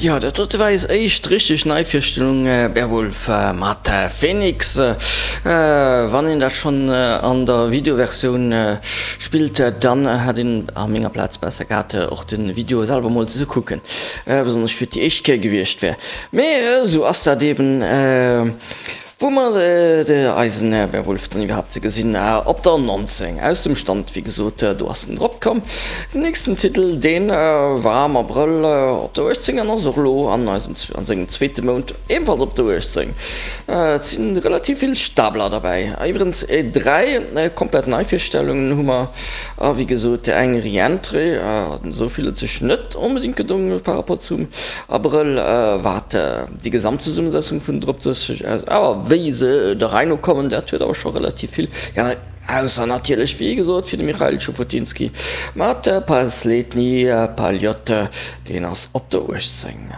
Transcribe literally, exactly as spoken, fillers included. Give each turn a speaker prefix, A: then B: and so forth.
A: Jo, dat dote war eis éischt richteg Neivirstellung, Beowulf mat Phoenix. Wann een dat schonn an der Videoversioun spillt, dann hätt een a menger Plaz besser gehat, och de Video selwer mol ze kucken, besonnesch fir déi éischt Kéier gewiescht wär. Mee esou ass dat eben. Wou mer eisen Werwolf dann iwwerhaapt ze gesinn op der nonzéng aus dem Stand, wéi gesot, do ass en drop komm. Den nächsten Titel, dee war am Abrëll op der uechtzéng an ass och elo an eisem, an sengem zweete Mount ebenfalls op der uechtzéng. Et si relativ vill Stapler derbäi. Iwwerens dräi komplett Neivirstellungen hu mer a wéi gesot eng Re-Entrée. Esou vill huet sech net onbedéngt gedongen par rapport zum Abrëll, wat déi Gesamtzesummesetzung vun Drop sech aus, awer wéi se der Rei no kommen, dat huet awer scho relativ vill geännert, ausser natierlech, wéi gesot, fir de Michail Tschufotinski mat Pasledni Paljot, deen ass op der uechtzéng.